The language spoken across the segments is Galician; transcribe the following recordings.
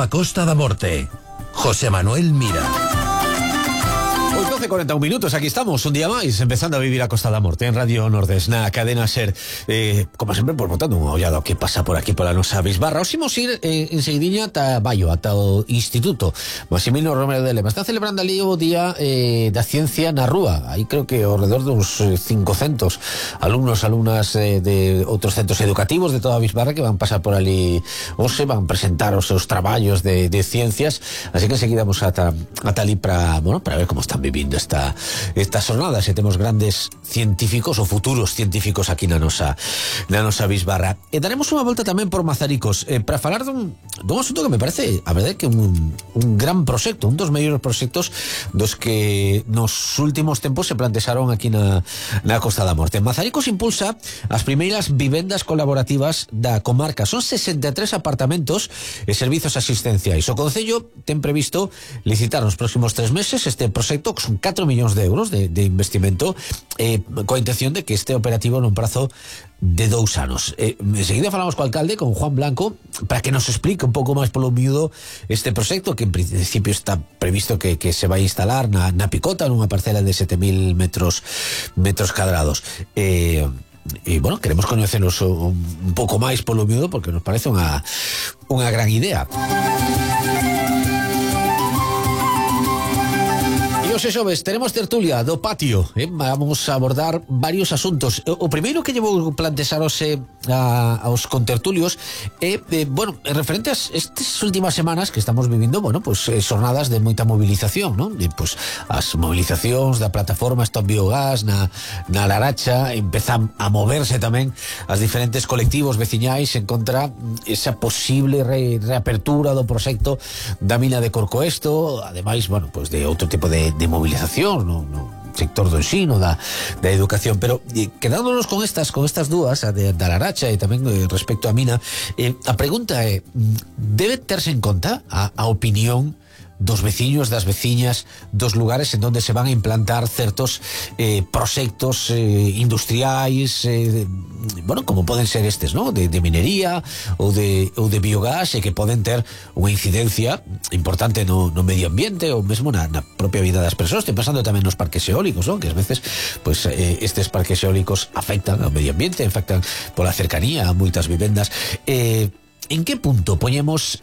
a Costa da Morte. José Manuel Mira. 12:41 minutos, aquí estamos, un día máis, empezando a vivir a Costa da Morte en Radio Nordes, na cadena SER. Como sempre, pues, botando unha ollada que pasa por aquí, pola nosa bisbarra. Os imos ir en seguidiña ata Baio, ata o Instituto Maximino Romero de Lema. Está celebrando ali o Día da Ciencia na Rúa. Aí creo que ao redor dos 500 alumnos, alumnas de outros centros educativos de toda a bisbarra que van pasar por ali hoxe, van presentar os seus traballos de ciencias, así que enseguida vamos ata ali para ver como están vivindo estas jornadas. E temos grandes científicos ou futuros científicos aquí na nosa bisbarra. E daremos unha volta tamén por Mazaricos para falar dun asunto que me parece, a verdade, que un gran proxecto, un dos mellores proxectos dos que nos últimos tempos se plantexaron aquí na Costa da Morte. Mazaricos impulsa as primeiras vivendas colaborativas da comarca. Son 63 apartamentos e servizos asistenciais. O Concello ten previsto licitar nos próximos 3 meses este proxecto, que son 4 millóns de euros de investimento, coa intención de que este operativo nun prazo de 2 anos. Enseguida falamos co alcalde, con Juan Blanco, para que nos explique un pouco máis polo miúdo este proxecto, que en principio está previsto que se vai instalar na Picota, nunha parcela de 7.000 metros cadrados. Bueno, queremos coñecelos un pouco máis polo miúdo, porque nos parece unha gran idea. Os xoves tenemos tertulia do patio, vamos a abordar varios asuntos. O primeiro que llevo plantexarose aos contertulios bueno, referente a estas últimas semanas que estamos vivindo, bueno, pues xornadas de moita movilización, non? Pues as movilizacións da plataforma Stop Biogás na Laracha empezan a moverse tamén as diferentes colectivos veciñais en contra esa posible reapertura do proxecto da mina de Corcoesto, ademais, bueno, pues de outro tipo de movilización no sector do ensino, da educación. Pero quedándonos con estas dúas, a da Laracha e tamén respecto á mina, a pregunta é: debe terse en conta a opinión dos veciños, das veciñas, dos lugares en donde se van a implantar certos proxectos industriais, bueno, como poden ser estes, ¿no? De minería ou de biogás, e que poden ter unha incidencia importante no medio ambiente ou mesmo na propia vida das persoas. Estoy pensando tamén nos parques eólicos, ¿no? Que ás veces pues, estes parques eólicos afectan ao medio ambiente, afectan pola cercanía a moitas vivendas. En que punto poñemos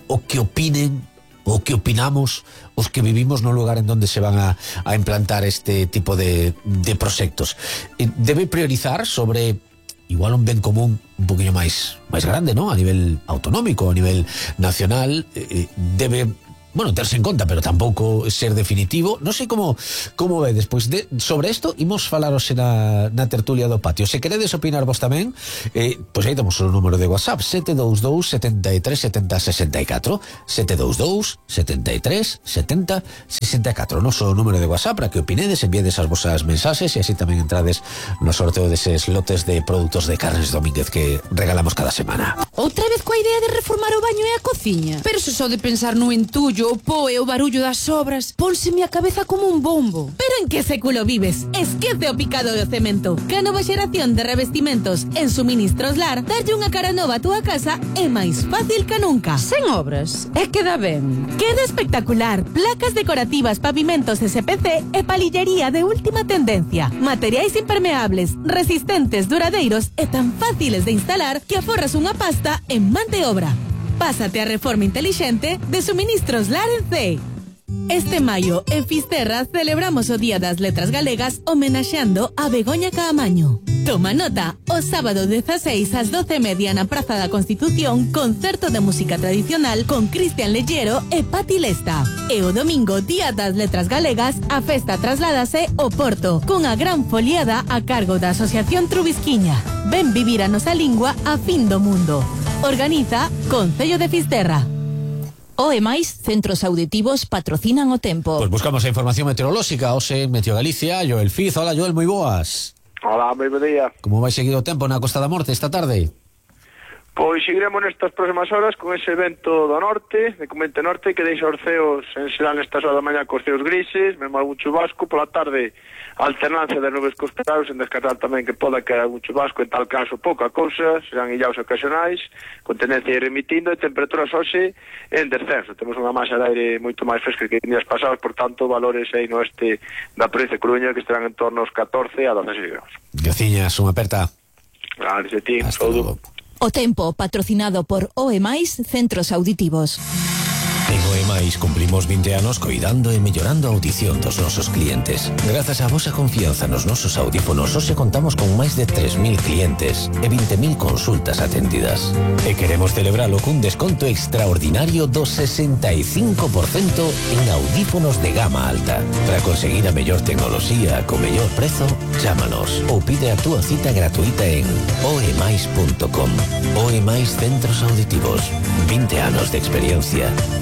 o que opinen o que opinamos os que vivimos no lugar en donde se van a implantar este tipo de proxectos? Debe priorizar sobre igual un ben común un poquinho máis grande, ¿no? A nivel autonómico, a nivel nacional, debe, bueno, terse en conta, pero tampouco ser definitivo. Non sei como ve despois sobre isto. Imos falaros na tertulia do patio. Se queredes opinar vos tamén, pois aí temos o número de WhatsApp: 722 73 70 64, 722 73 70 64, noso número de WhatsApp, para que opinedes, enviades as vosas mensaxes e así tamén entrades no sorteo deses lotes de produtos de Carnes Domínguez que regalamos cada semana. Outra vez coa idea de reformar o baño e a cociña? Pero se só de pensar no entullo, o po e o barullo das obras, pónseme a cabeza como un bombo. Pero en que século vives? Esquece o picado do cemento. Que a nova xeración de revestimentos en Suministros Lar, darlle unha cara nova a túa casa é máis fácil que nunca. Sen obras, e queda ben. Queda espectacular. Placas decorativas, pavimentos SPC e palillería de última tendencia. Materiais impermeables, resistentes, duradeiros e tan fáciles de instalar que aforras unha pasta en man de obra. Pásate a reforma intelixente de Suministros Lar en CEI. Este maio, en Fisterra, celebramos o Día das Letras Galegas homenaxeando a Begoña Caamaño. Toma nota, o sábado 16 ás 12:30 na Praza da Constitución, concerto de música tradicional con Cristian Lellero e Pati Lesta. E o domingo, Día das Letras Galegas, a festa trasládase ao Porto, cunha gran foliada a cargo da Asociación Trubisquiña. Ven vivir a nosa lingua a fin do mundo. Organiza Concello de Fisterra. O e máis centros auditivos patrocinan o tempo. Pois buscamos a información meteorolóxica hoxe en Meteo Galicia. Joel Fiz, hola Joel, moi boas. Hola, moi bo día. Como vai seguir o tempo na Costa da Morte esta tarde? Pois seguiremos nestas próximas horas con ese vento do norte, de Comente Norte, que deixa os ceos en xeral nestas horas da mañá cos ceos grises, mesmo algún chubasco, pola tarde alternancia de nubes cos claros, en descartar tamén que poda caer algún chubasco, en tal caso pouca cousa, serán illaos ocasionais, con tendencia a ir remitindo, e temperaturas hoxe en descenso. Temos unha masa de aire moito máis fresca que días pasados, por tanto, valores aí no oeste da provincia de Coruña que estarán en torno aos 14 a 16 graus. Graciñas, unha aperta. Gracias a ti, Hasta saúdo. luego. O tempo patrocinado por OEMAIS Centros Auditivos. En OEMAIS cumplimos 20 anos coidando e mellorando a audición dos nosos clientes. Grazas á vosa confianza nos nosos audífonos, hoxe contamos con máis de 3.000 clientes e 20.000 consultas atendidas. E queremos celebralo cun desconto extraordinario do 65% en audífonos de gama alta. Para conseguir a mellor tecnoloxía co mellor prezo, chámanos ou pide a túa cita gratuita en oemais.com. OEMAIS Centros Auditivos. 20 anos de experiencia.